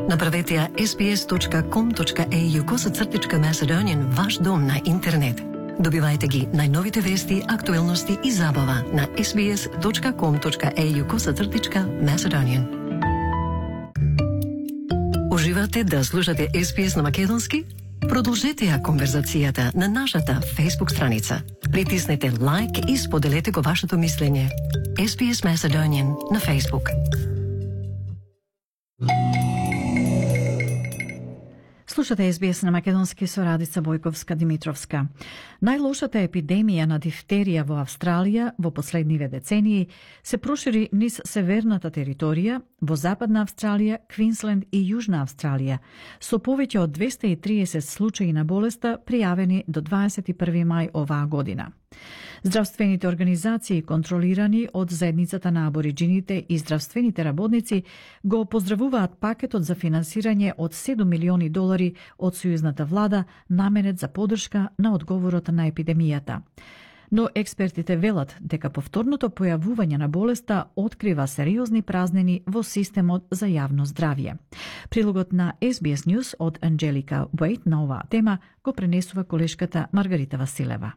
Направете ја sbs.com.au/Macedonian ваш дом на интернет. Добивајте ги најновите вести, актуелности и забава на sbs.com.au/Macedonian. Уживате да слушате SBS на македонски? Продолжете ја конверзацијата на нашата Facebook страница. Притиснете лайк и споделете го вашето мислење. SBS Macedonian на Facebook. Слушате SBS на македонски со Радица Бојковска-Димитровска. Најлошата епидемија на дифтерија во Австралија во последниве децении се прошири низ северната територија, во Западна Австралија, Квинсленд и Јужна Австралија, со повеќе од 230 случаи на болеста пријавени до 21 мај оваа година. Здравствените организации, контролирани од заедницата на абориџините и здравствените работници, го поздравуваат пакетот за финансирање од $7 милиони од сојузната влада наменет за подршка на одговорот на епидемијата. Но експертите велат дека повторното појавување на болеста открива сериозни празнини во системот за јавно здравје. Прилогот на SBS News од Анджелика Уейт на оваа тема го пренесува колешката Маргарита Василева.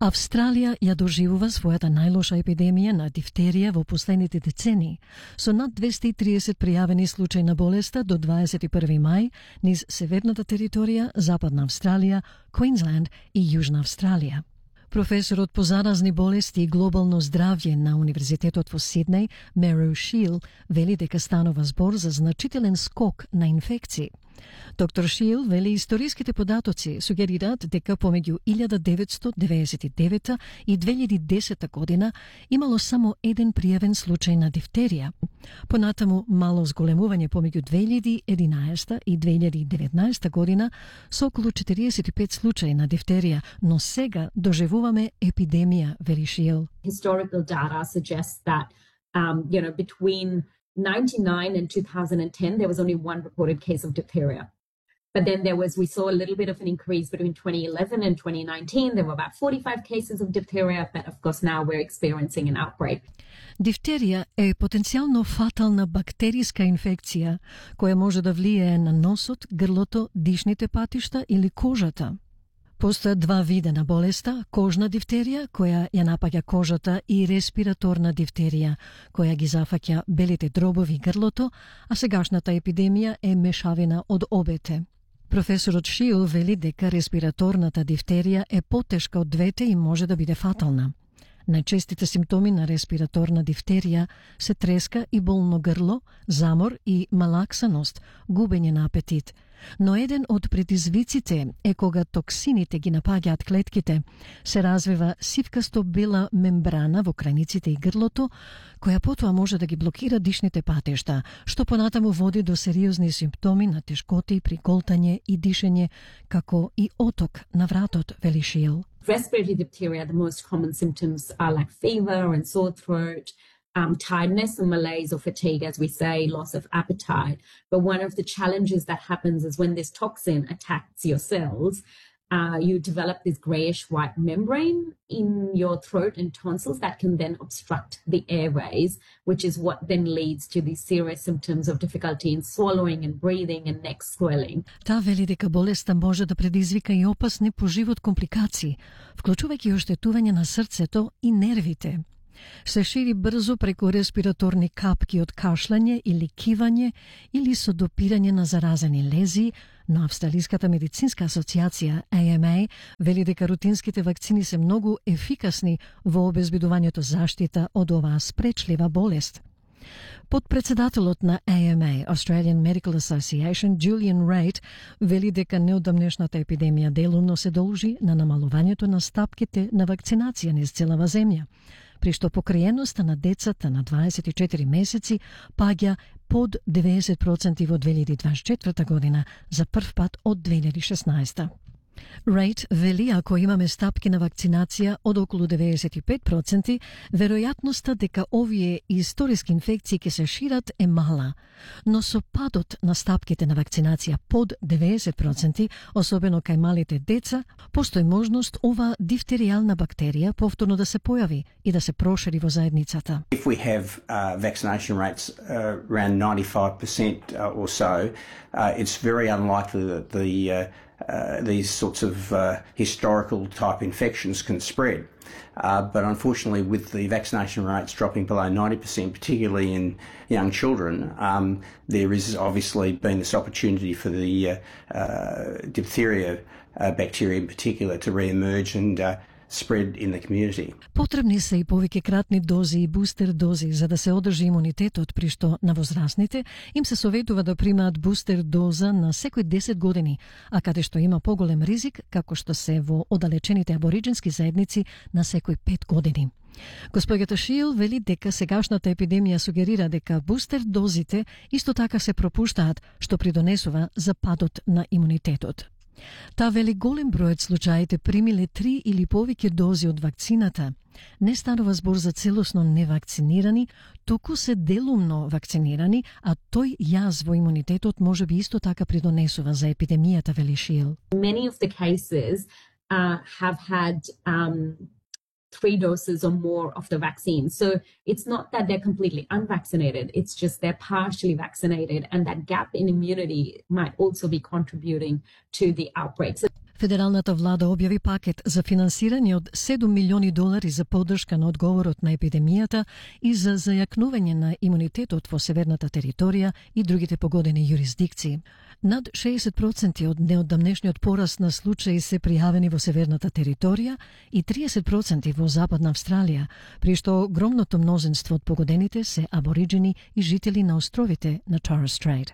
Австралија ја доживува својата најлоша епидемија на дифтерија во последните децении, со над 230 пријавени случаи на болеста до 21 мај низ северната територија, Западна Австралија, Квинсленд и Јужна Австралија. Професорот по заразни болести и глобално здравје на Универзитетот во Сиднеј, Меру Шил, вели дека станува збор за значителен скок на инфекции. Доктор Шил вели историските податоци сугерираат дека помеѓу 1999 и 2010 година имало само еден пријавен случај на дифтерија. Понатаму мало зголемување помеѓу 2011 и 2019 година со околу 45 случаи на дифтерија, но сега доживуваме епидемија, вели Шил. Historical data suggests that between 1999 and 2010, there was only one reported case of diphtheria. But then we saw a little bit of an increase between 2011 and 2019. There were about 45 cases of diphtheria, but of course now we're experiencing an outbreak. Дифтерија е потенцијално фатална бактериска инфекција која може да влијае на носот, грлото, дишните патишта или кожата. Постојат два вида на болеста: кожна дифтерија, која ја напаѓа кожата, и респираторна дифтерија, која ги зафаќа белите дробови грлото, а сегашната епидемија е мешавина од обете. Професорот Шил вели дека респираторната дифтерија е потешка од двете и може да биде фатална. Најчестите симптоми на респираторна дифтерија се треска и болно грло, замор и малаксаност, губење на апетит. Но еден од предизвиците е кога токсините ги напаѓаат клетките, се развива сивкасто бела мембрана во крајниците и грлото, која потоа може да ги блокира дишните патишта, што понатаму води до сериозни симптоми на тешкоти при голтање и дишење, како и оток на вратот, вели Шил. Respiratory diphtheria, the most common symptoms are like fever and sore throat, tiredness or malaise or fatigue, as we say, loss of appetite. But one of the challenges that happens is when this toxin attacks your cells, you develop this greyish-white membrane in your throat and tonsils that can then obstruct the airways, which is what then leads to these serious symptoms of difficulty in swallowing and breathing and neck swelling. Таа вели дека болеста може да предизвика и опасни по живот компликации, вклучувајќи оштетување на срцето и нервите. Се шири брзо преку респираторни капки од кашлање или кивање или со допирање на заразени лези, но Австралиската медицинска асоциација AMA вели дека рутинските вакцини се многу ефикасни во обезбедувањето заштита од оваа спречлива болест. Подпредседателот на AMA, Australian Medical Association, Julian Raitt, вели дека неодамнешната епидемија делумно се должи на намалувањето на стапките на вакцинација низ целава земја, при што покриеноста на децата на 24 месеци паѓа под 90% во 2024 година, за прв пат од 2016. Рейд вели ако имаме стапки на вакцинација од околу 95%, веројатноста дека овие историски инфекции ќе се шират е мала. Но со падот на стапките на вакцинација под 90%, особено кај малите деца, постои можност ова дифтеријална бактерија повторно да се појави и да се прошири во заедницата. If we have vaccination rates around 95% or so, it's very unlikely that these sorts of historical type infections can spread. But unfortunately, with the vaccination rates dropping below 90%, particularly in young children, there is obviously been this opportunity for the diphtheria bacteria in particular to re-emerge and spread in the community. Потребни се и повеќе кратни дози и бустер дози за да се одржи имунитетот, при што на возрастните им се советува да примаат бустер доза на секој 10 години, а каде што има поголем ризик, како што се во оддалечените абориджински заедници, на секој 5 години. Госпоѓата Шил вели дека сегашната епидемија сугерира дека бустер дозите исто така се пропуштаат, што придонесува за падот на имунитетот. Та вели голем број од случаите примиле 3 или повеќе дози од вакцината. Не станува збор за целосно невакцинирани, туку се делумно вакцинирани, а тој јаз во имунитетот може би исто така придонесува за епидемијата, вели Шил. Many of the cases have had 3 doses or more of the vaccine. So it's not that they're completely unvaccinated, it's just they're partially vaccinated, and that gap in immunity might also be contributing to the outbreak. Федералната влада објави пакет за финансирање од $7 милиони за поддршка на одговорот на епидемијата и за зајакнување на имунитетот во северната територија и другите погодени јурисдикции. Над 60% од неодамнешниот пораст на случаи се пријавени во северната територија и 30% во Западна Австралија, при што огромното мнозинство од погодените се абориджини и жители на островите на Torres Strait.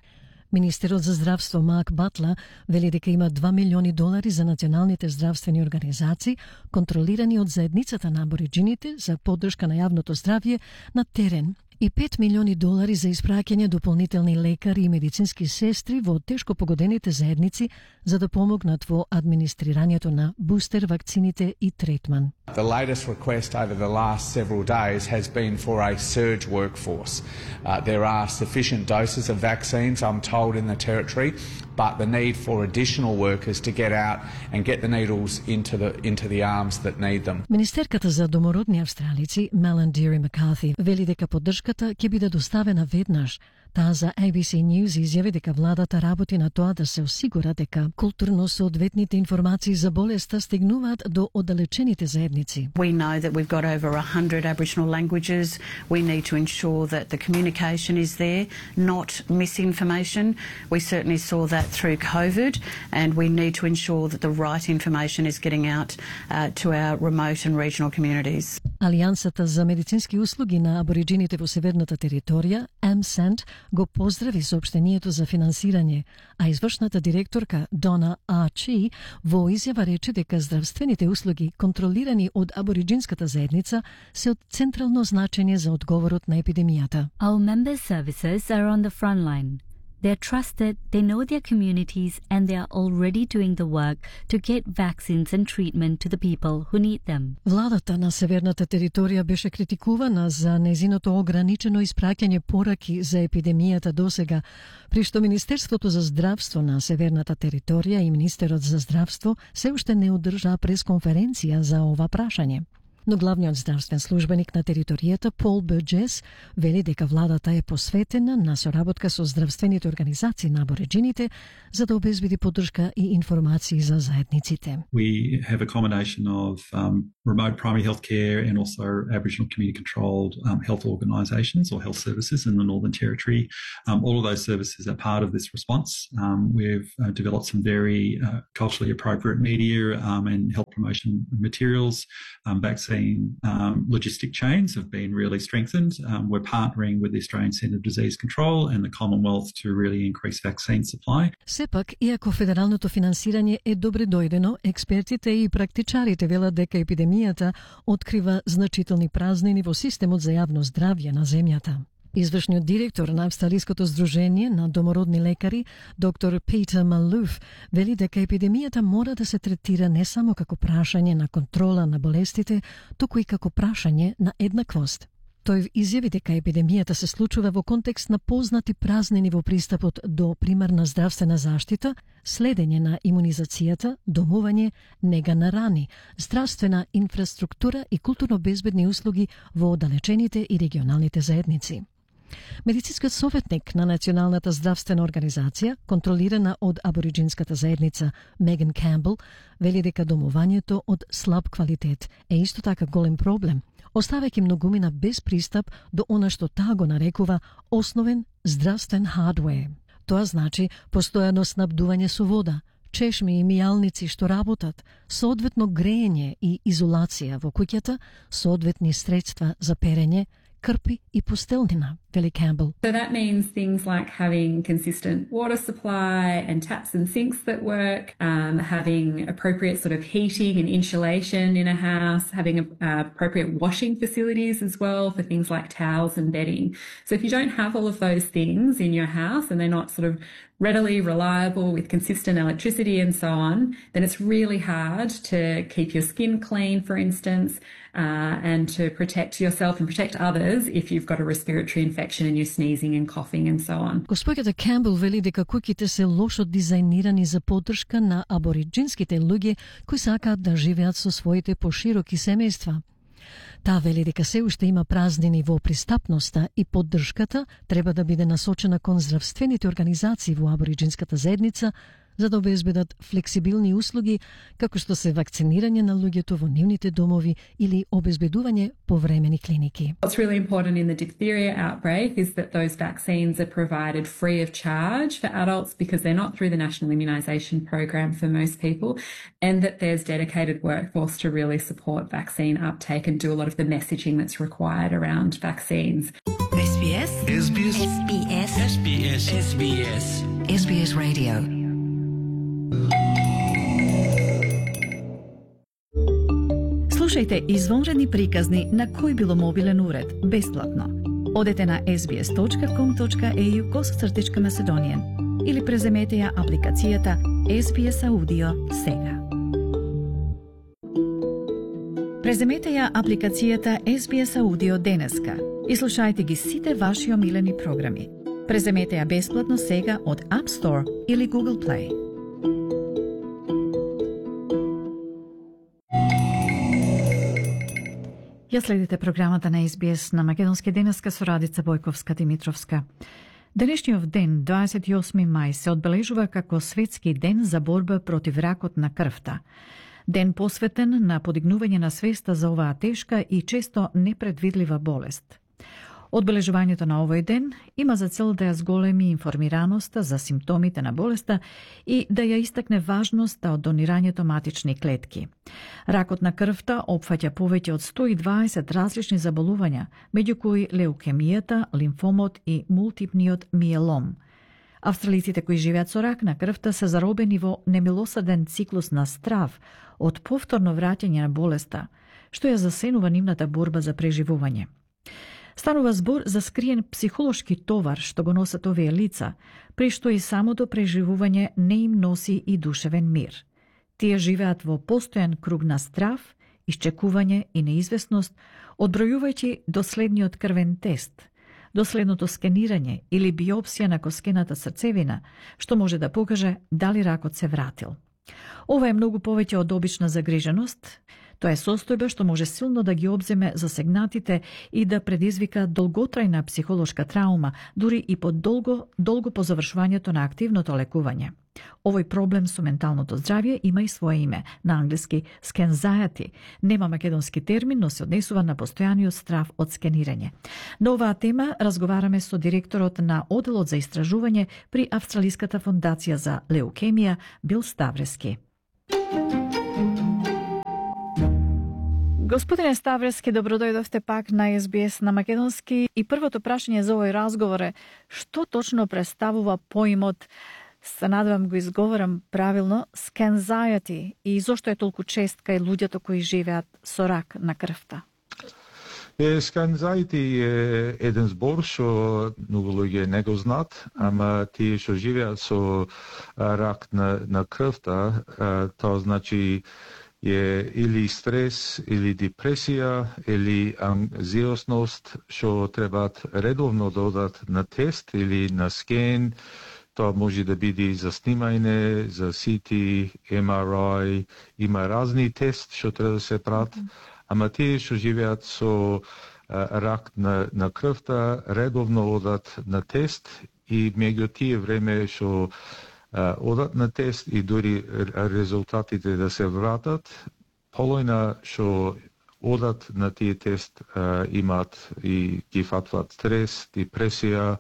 Министерот за здравство Марк Батла вели дека има $2 милиони за националните здравствени организации, контролирани од заедницата на абориджините за поддршка на јавното здравје на терен, и $5 милиони за испраќање дополнителни лекари и медицински сестри во тешко погодените заедници за да помогнат во администрирањето на бустер вакцините и третман. The latest request over the last several days has been for a surge workforce. There are sufficient doses of vaccines, I'm told, in the territory, but the need for additional workers to get out and get the needles into the arms that need them. Министерката за домородни австралици Мелан Дири Маккарти вели дека поддршката ќе биде доставена веднаш. Таа за ABC News изјави дека владата работи на тоа да се осигура дека културно соодветните информации за болеста стигнуваат до оддалечените заедници. We know that we've got over 100 Aboriginal languages. We need to ensure that the communication is there, not misinformation. We certainly saw that through COVID, and we need to ensure that the right information is getting out to our remote and regional communities. Алијансата за медицински услуги на абориджините во северната територија, AMSANT, го поздрави соопштението за финансирање, а извршната директорка Дона Арчи во изјава рече дека здравствените услуги контролирани од абориджинската заедница се од централно значење за одговорот на епидемијата. Our member services are on the front line. They're trusted, they know their communities, and they are already doing the work to get vaccines and treatment to the people who need them. Владата на северната територија беше критикувана за нејзиното ограничено испраќање пораки за епидемијата досега, при што Министерството за здравство на северната територија и Министерот за здравство се уште не одржаа пресконференција за ова прашање. Но главниот здравствен службеник на територијата Пол Бурджес вели дека владата е посветена на соработка со здравствените организации на абориджините за да обезбеди поддршка и информации за заедниците. We have a combination of remote primary health care and also Aboriginal community controlled health organisations or health services in the Northern Territory. All of those services are part of this response. We've developed some very culturally appropriate media and health promotion materials. Vaccine logistic chains have been really strengthened. We're partnering with the Australian Centre of Disease Control and the Commonwealth to really increase vaccine supply. Сепак, иако федералното финансирање е добре дојдено, експертите и практичарите велат дека епидемијата открива значителни празнини во системот за јавно здравје на земјата. Извршниот директор на Австралиското здружение на домородни лекари, доктор Питер Малуф, вели дека епидемијата мора да се третира не само како прашање на контрола на болестите, туку и како прашање на еднаквост. Тој изјави дека епидемијата се случува во контекст на познати празнини во пристапот до примарна здравствена заштита, следење на имунизацијата, домување, нега на рани, здравствена инфраструктура и културно безбедни услуги во оддалечените и регионалните заедници. Медицинскиот советник на Националната здравствена организација, контролирана од абориджинската заедница Меган Камбел, вели дека домувањето од слаб квалитет е исто така голем проблем, оставајќи многумина без пристап до она што таа го нарекува основен здравствен хардвер. Тоа значи постојано снабдување со вода, чешми и мијалници што работат, соодветно греење и изолација во куќата, соодветни средства за перење, крпи и постелнина, вели Камбел. So that means things like having consistent water supply and taps and sinks that work, having appropriate sort of heating and insulation in a house, having appropriate washing facilities as well for things like towels and bedding. So if you don't have all of those things in your house and they're not sort of readily reliable with consistent electricity and so on, then it's really hard to keep your skin clean, for instance, and to protect yourself and protect others if you've got a respiratory infection and you're sneezing and coughing and so on. Госпоѓата Камбел вели дека куќите се лошо дизајнирани за поддршка на абориджинските луѓе кои сакаат да живеат со своите пошироки семејства. Таа вели дека се уште има празнини во пристапноста и поддршката треба да биде насочена кон здравствените организации во абориджинската заедница за да обезбедат флексибилни услуги како што се вакцинирање на луѓето во нивните домови или обезбедување повремени клиники. What's really important in the diphtheria outbreak is that those vaccines are provided free of charge for adults because they're not through the National Immunisation Program for most people, and that there's dedicated workforce to really support vaccine uptake and do a lot of the messaging that's required around vaccines. SBS SBS SBS SBS SBS SBS Radio. Слушајте извонредни приказни на кој било мобилен уред, бесплатно. Одете на sbs.com.au/Macedonian или преземете ја апликацијата SBS Audio сега. Преземете ја апликацијата SBS Audio денеска и слушајте ги сите ваши омилени програми. Преземете ја бесплатно сега од App Store или Google Play. Ја следите програмата на SBS на Македонски денеска со Радица Бојковска-Димитровска. Денешниот ден, 28 мај, се одбележува како Светски ден за борба против ракот на крвта. Ден посветен на подигнување на свеста за оваа тешка и често непредвидлива болест. Одбележувањето на овој ден има за цел да ја зголеми информираноста за симптомите на болеста и да ја истакне важноста од донирањето матични клетки. Ракот на крвта опфаќа повеќе од 120 различни заболувања, меѓу кои леукемијата, лимфомот и мултипниот миелом. Австралиците кои живеат со рак на крвта се заробени во немилосаден циклус на страв од повторно враќање на болеста, што ја засенува нивната борба за преживување. Станува збор за скриен психолошки товар што го носат овие лица, при што и самото преживување не им носи и душевен мир. Тие живеат во постојан круг на страв, исчекување и неизвестност, одбројувајќи до следниот крвен тест, до следното скенирање или биопсија на коскената срцевина, што може да покаже дали ракот се вратил. Ова е многу повеќе од обична загриженост. Тоа е состојба што може силно да ги обземе засегнатите и да предизвика долготрајна психолошка траума, дури и долго по завршувањето на активното лекување. Овој проблем со менталното здравје има и свое име, на англиски anxiety. Нема македонски термин, но се однесува на постојаниот страв од скенирање. На оваа тема разговараме со директорот на Оделот за истражување при Австралиската фондација за леукемија Бил Ставрески. Господине Ставрески, добродојдовте пак на SBS на Македонски и првото прашање за овој разговор е што точно представува поимот, се надевам го изговорам правилно, anxiety и зошто е толку чест кај луѓето кои живеат со рак на крвта? Сканзајти е еден збор што многу луѓе не го знаат, ама тие што живеат со рак на крвта, тоа значи е или стрес, или депресија, или анксиозност, што требаат редовно да одат на тест или на скен. Тоа може да биде за снимање, за CT, MRI, има разни тест што треба да се прават, ама тие што живеат со рак на крвта редовно одат на тест и меѓу тие време што одат на тест и дури резултатите да се вратат, полојна што одат на тие тест имаат и ги фатваат стрес, депресија,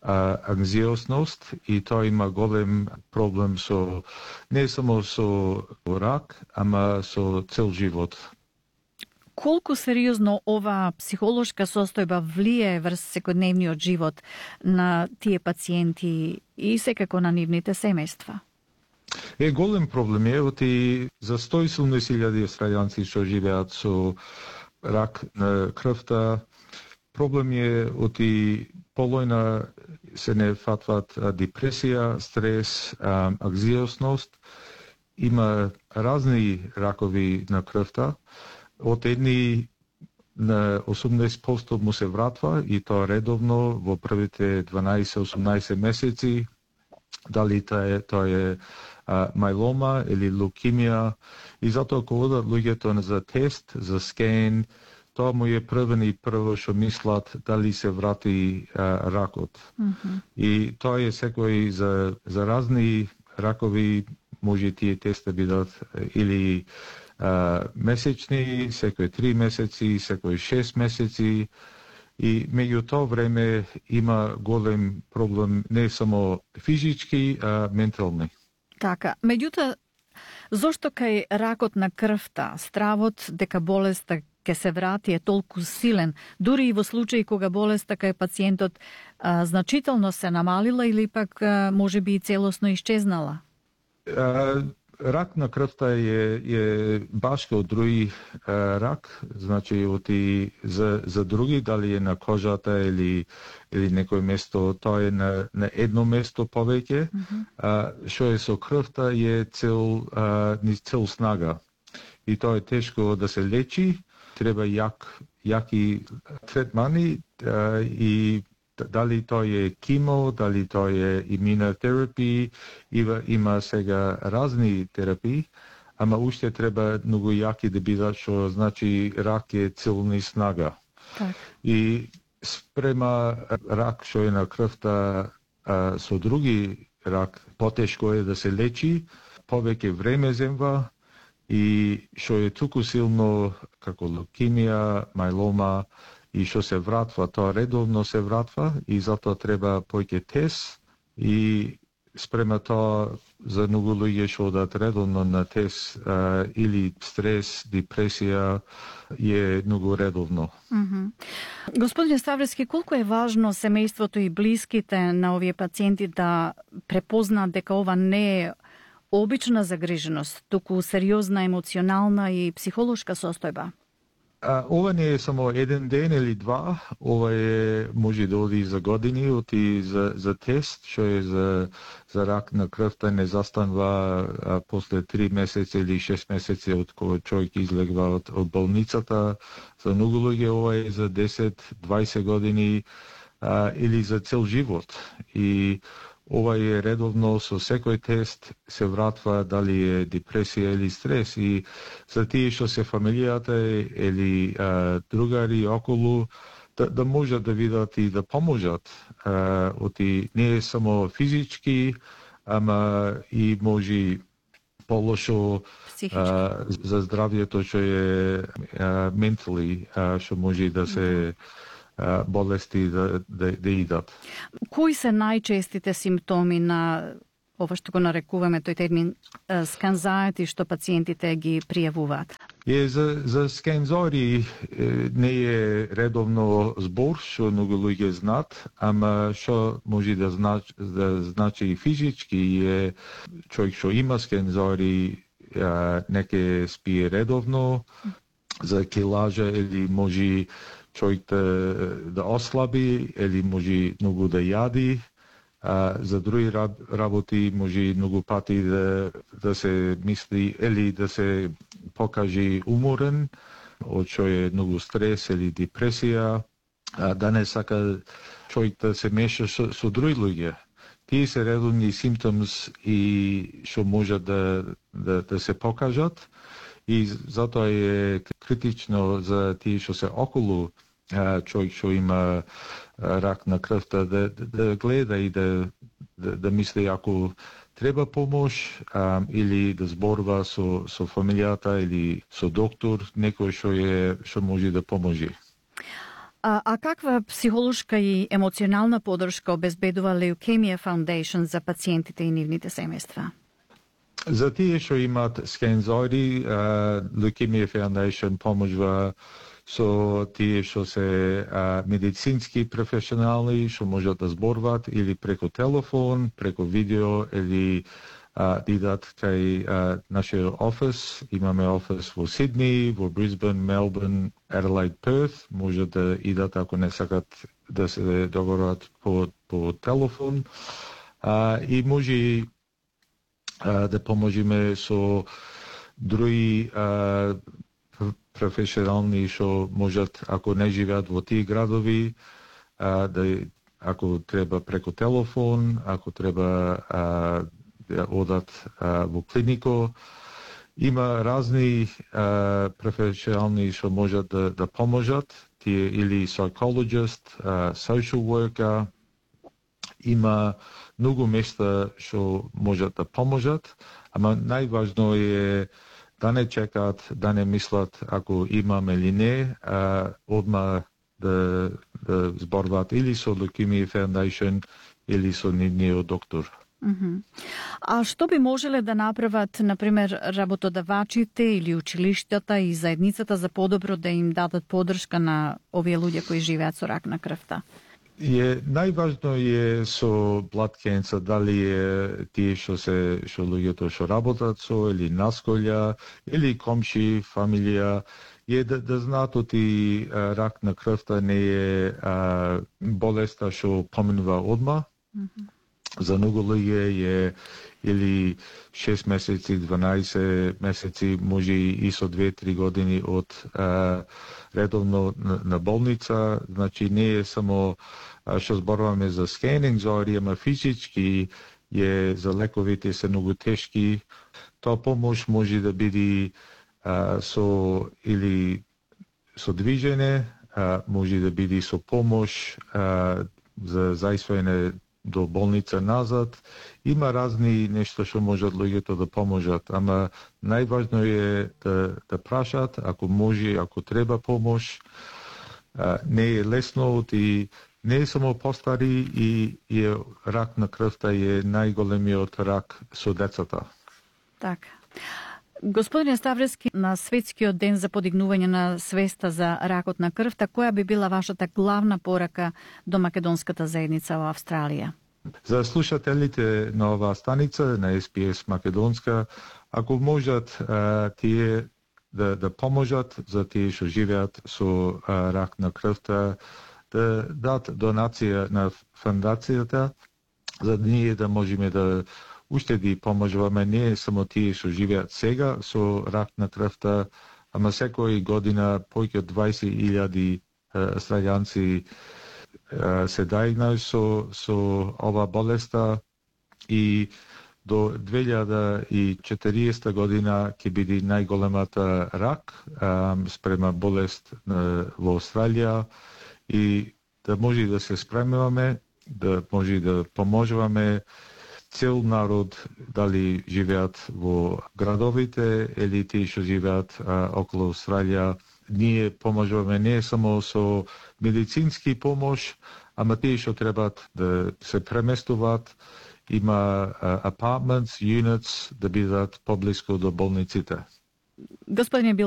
анксиозност и тоа има голем проблем со не само со рак, ама со цел живот. Колку сериозно ова психолошка состојба влие врз секојдневниот живот на тие пациенти и секако на нивните семејства? Голем проблем е, оти за 170.000 австралијанци што живеат со рак на крвта, проблем е оти полојна се не фатват депресија, стрес, анксиозност. Има разни ракови на крвта. Од едни на 80% му се вратва и тоа редовно во првите 12-18 месеци. Дали тоа е мајлома или лукемија. И затоа кога одат луѓето за тест, за скен, тоа му е првен и прво што мислат дали се врати ракот. И тоа е секој за разни ракови, може тие теста бидат или месечни, секој 3 месеци, секој 6 месеци и меѓу тоа време има голем проблем не само физички, а ментални. Така, меѓутоа, зошто кај ракот на крвта стравот дека болеста ќе се врати е толку силен, дури и во случаи кога болеста кај пациентот значително се намалила или пак може би и целосно исчезнала? Рак на крвта е баш како други рак, значи оти за други, дали е на кожата или некој место, тоа е на едно место повеќе. Што е со крвта е цел снага. И тоа е тешко да се лечи, треба јаки третмани и дали тоа е кимо, дали тоа е имунотерапија, има сега разни терапии, ама уште треба многу јаки да бидат, што значи рак е целни снага. Так. И спрема рак што е на крвта со други рак, потешко е да се лечи, повеќе време земва и што е туку силно како лукемија, мајлома, и што се вратва, тоа редовно се вратва и затоа треба поќе тест и спрема тоа за многу луѓе што одат редовно на тест или стрес, депресија е многу редовно. Господине Ставрески, колку е важно семејството и блиските на овие пациенти да препознаат дека ова не е обична загриженост, туку сериозна емоционална и психолошка состојба? Ова не е само еден ден или два, ова може да оди за години, оти за тест, што е за рак на крвта не застанува после 3 месеци или 6 месеци од кога човек излегва од болницата. За многу луѓе ова е за 10-20 години или за цел живот. И ова е редовно со секој тест се вратва дали е депресија или стрес и за тие што се фамилијата или другари околу да можат да видат и да поможат. Оти не е само физички, ама и може полошо за здравјето што е ментали, што може да се болести да идат. Кои се најчестите симптоми на ова што го нарекуваме тој термин сканзајти што пациентите ги пријавуваат? За скензори не е редовно збор што многу луѓе знаат, ама што може да значи и физички е човек што има скензори неке спие редовно, за килажа или може човек да ослаби или може многу да јади. За други работи може многу пати да се мисли или да се покаже уморен, од што е многу стрес или депресија, да не сака човек да се меша со други луѓе. Тие се редовни симптомс и што може да се покажат и затоа е критично за тие што се околу човек што има рак на крвта да гледа и да мисли ако треба помош или да зборува со фамилијата или со доктор, некој што може да поможи. А каква психолошка и емоционална подршка обезбедува Leukemia Foundation за пациентите и нивните семејства? За тие што имаат скензори, Leukemia Foundation поможува со тие што се медицински професионални, што можат да зборуваат или преку телефон, преку видео или идат кај нашиот офис. Имаме офис во Сидни, во Брисбен, Мелбурн, Аделаид, Перт. Може да идат ако не сакат да се договорат по телефон. И може да поможеме со други професионални што можат, ако не живеат во тие градови, ако треба преку телефон, ако треба да одат во клинико. Има разни професионални што можат да поможат, тие или psychologist, social worker. Има многу места што можат да поможат, ама најважно е да не чекаат, да не мислат ако имам или не, одма да зборуваат или со Leukemia Foundation или со нивниот доктор. А што би можеле да направат, например, работодавачите или училиштата и заедницата за подобро да им дадат подршка на овие луѓе кои живеат со рак на крвта? Најважно е со blood cancer, дали е тие што луѓето што работат со или насколја или комши, фамилија, е да знаат оти рак на крвта не е болеста што поминува одма. За многу луѓе е или 6 месеци, 12 месеци, може и со 2-3 години од редовно на болница. Значи не е само што зборуваме за скенинг зори, ама физички е за лековите се многу тешки. Тоа помош може да биде со движење, може да биде со помош за заисвање до болница назад. Има разни нешта што можат луѓето да поможат, ама најважно е да прашат, ако може, ако треба помош. Не е лесно и не е само постари и рак на крвта е најголемиот рак со децата. Така. Господине Ставрески, на Светскиот ден за подигнување на свеста за ракот на крвта, која би била вашата главна порака до македонската заедница во Австралија? За слушателите на оваа станица, на SPS Македонска, ако можат тие да поможат за тие што живеат со рак на крвта, да дадат донација на фондацијата, за да ние да можеме да уштеди поможуваме не само тие што живеат сега со рак на крвта, ама секој година повеќе од 20,000 австралијанци се дајгнаа со ова болеста и до 2040 година ќе биде најголемата рак спрема болест во Австралија и да може да се спремуваме, да може да поможуваме цел народ, дали живеат во градовите или тие што живеат околу Австралија. Ние поможуваме не само со медицински помош, ама тие што требаат да се преместуваат. Има apartments, units да бидат поблиску до болниците. Господине Бил